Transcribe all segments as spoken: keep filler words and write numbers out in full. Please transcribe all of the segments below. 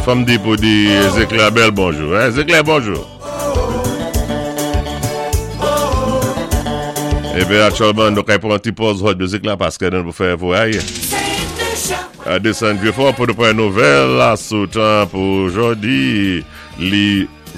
Fanm di pou di Zéclair bèl bonjou. Hein? Zéclair, bonjou. Eben, aktyèlman, nou kay pran ti pòz hot mizik la paské nou pou fè voyay. Desann Vieux-Fort pou nou pran nouvèl la sou tan pou jòdi li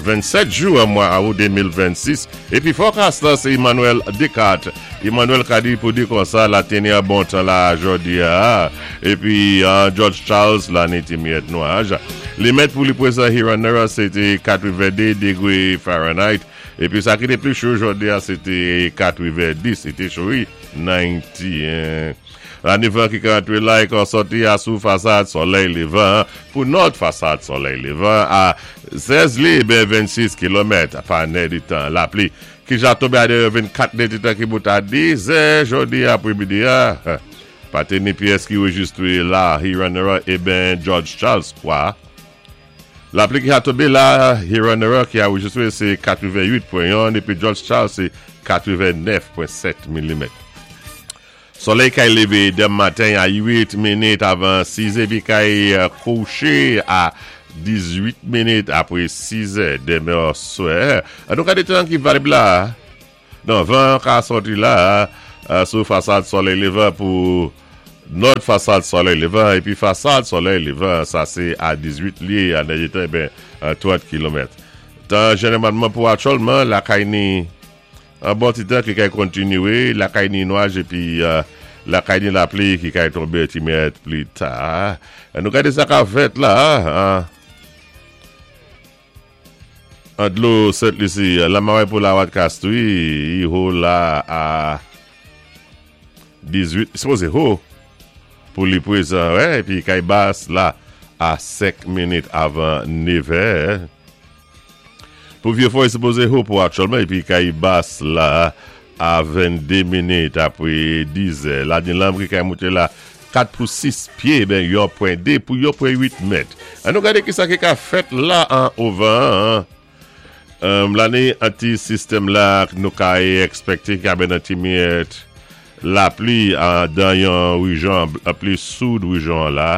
vennsèt jen mwa out de mil vennsis. Épi forecast la, sé Emmanuel Descartes. Emmanuel ka di pou di konsa la teni a bon tan la jòdi a. Épi uh, George Charles la ni ti miyèt nwaj. Li mèt pou li pwézan Hewanorra, sé té katrevende dégwé Fahrenheit. Épi sa ki té pli cho jòdi a, sé té katrevendis, sé té cho wi, katreven. La ni van ki ka antré la é ka sòti a sou fasad solèy lévan pou nò fasad solèy lévan a sèz lyé ben vennsis kilomèt pa nèditan. Lapli ki ja tonbé a vennkat nèditan ki bout a dis è jòdi apwémidi a. Pa té ni pyès ki rejistwé la Hewanorra é ben George Charles kwa. Lapli ki a tonbé la Hewanorra ki a rejistwé, sé katrevenwit pwen yon épi George Charles, sé katrevennèf pwen sèt milimèt. Solèy kay lévé denmen maten a uit minit avan sis épi kay kouché a dizuit minit apwé sis è denmen oswè. An nou gadé tan ki valib la. Non, van ka sòti la euh, sou fasad solèy lévan pou nò fasad solèy lévan épi fasad solèy lévan, sa sé a dizuit lyé a nèditan ben trant kilomèt. Tan jénéwalman pou aktyèlman la kay ni an bon ti tan ki kay kontinwé, la kay ni nwaj épi euh, la kay ni lapli ki kay tonbé ti miyèt pli ta. An nou gadé sa ka fèt la, an. An dlo Sent Lisi, la maway pou la wat Castries, i ho la a dizuit, sipozé ho pou li pwézan, wè, épi kay bas la a senk minit avan nèv è. Pou Vieux-Fort, sipozé ho pou aktyèlman, épi kay bas la a vennde minit apwé dis è. La ni lanm ki kay mouté la kat pou sis pyé, ben yon pwen de pou yon pwen uit mèt. An nou gadé ki sa ki ka fèt la an ovan. Um, la ni an ti sistèm la nou ka èkspèkté ki a ben an ti miyèt lapli an dan yon rejyon, an pli soud rejyon la.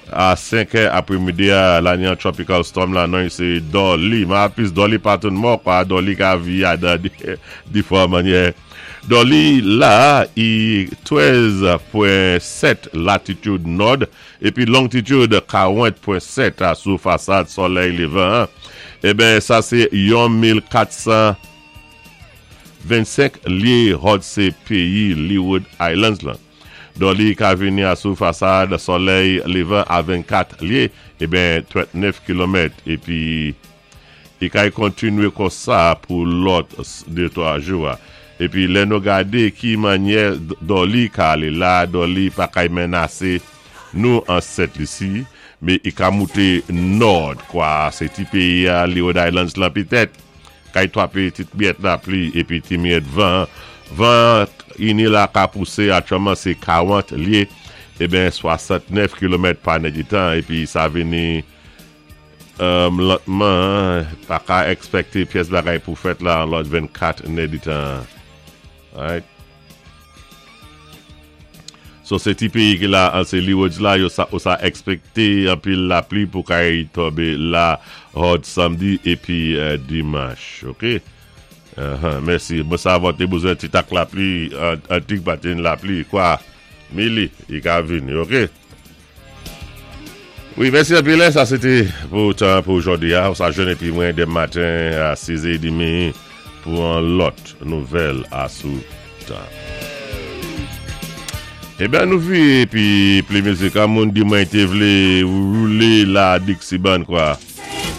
A senk è apwémidi a, la ni an tropical storm la, non sé Dolly. Ma pis Dolly pa toun mò kwa, Dolly ka vi a dan di fwa manyè. Dolly la, i trèz pwen sèt latitude nò épi longitude karant pwen sèt a sou fasad solèy lévan. Eh ben, sa sé yon mil kat san vennsenk lyé hòt sé péyi Leeward Islands la. Dolly ka vini a sou fasad solèy lévan a vennkat lyé, eh ben trantnèf kilomèt épi i kay kontinwé konsa pou lòt de twa jou. Épi lè nou gadé ki manyè Dolly ka alé la, Dolly pa kay menasé nou an Sent Lisi, mé i ka mouté nò kwa, sé ti péyi a Leeward Islands lan pitèt, kay twapé ti miyèt lapli épi ti miyèt van, van ini la ka pousé aktyèlman sé karant lyé, eh ben swasantnèf kilomèt pa nèditan épi sa vini um, lantman, pa ka èkspèkté pyès bagay pou fèt la an lòt vennkat nèditan. Alright. So sé ti péyi ki la, an sé Leewards la, yo sa, ou sa èkspèkté anpil lapli pou kay tonbé la hòt samdi épi euh, dimanch. OK? Uh-huh, mèsi. Mwen sa té bezwen ti tak lapli, an, an tik batin lapli, kwa? Mili, i ka vini, OK? Wi, mèsi anpil. Sa sé té pou tan pou jòdi a. Ou sa jwenn épi mwen denmen maten a sis è demi pou an lòt nouvèl a sou tan. Eh ben, nou vi épi pli mizik, an moun di mwen té vlé woulé la Dixie Band kwa.